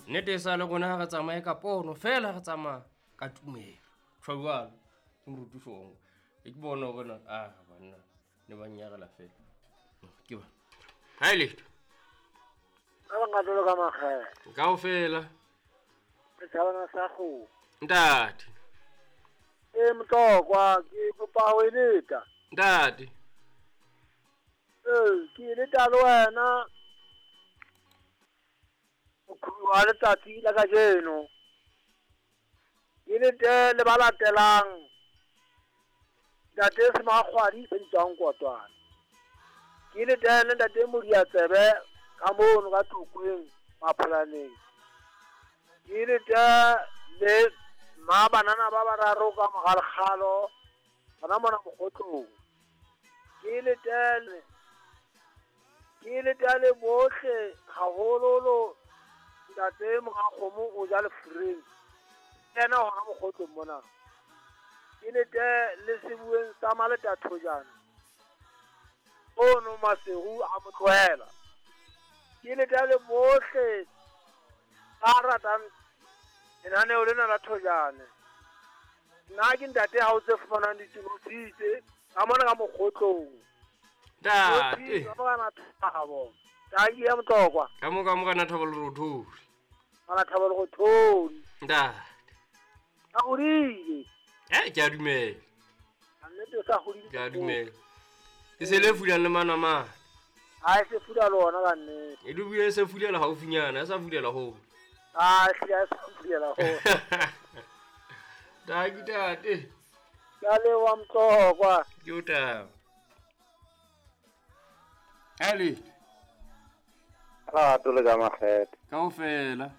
Nnete e sa le rona ha re tsamaye ka pono fela re tsamaya ka tumelo. Tjho jwalo ke moruti Shongo. E ke bona hore na ah banna ne ba nyarela fela. Ke ba. Ha e letho. Ka bangata le ka makgetho. Kaofela. Setjhabana sa kgomo. Ntate. E Motlokwa ke kopa ho eleta. Ntate. Ee, ke eleta le wena. Moqhobi wa letsatsi la kajeno. Ke lete le ba latelang. Ntate Semakgwadi se bitswang Kotwana. Ke lete le ntate Modiatsebe ka mono ka Tlokweng Mapholaneng. Ke lete le mma banana ba bararo ka mogalekgalo gona mona Mokgotlong. Ke lete ke lete le bohle haholoholo ntate Morakgomo o ja lefureng. Yena hona Mokgotlong mona. Ke lete le sebueng sa Maleta Thojane. Ono Maseru a mo tlohela. Ke lete le bohle ba ratang lenaneo lena la Thojane. Nna ke ntate ha o tse fumanang ditilositse ka mona ka Mokgotlong. Ntate. Ka mona Thabo. Tanki ya Motlokwa. Ka mo ka morena Thabo Lerothodi. Morena Thabo Lerothodi. Ntate. A hodile. Eh, ke a dumela. Nnete o sa hodile. Ke a dumela. E se le fulang le manamane. Ha e se fula lona ka nnete. E dubile se fulela haufinyana, e sa fulela hole. Ah, hlile ha e sa fulela hole. Tanki ntate. Ke a leboha Motlokwa. Ke o taba. Ale. Rato le ka makgetho. Kaofela.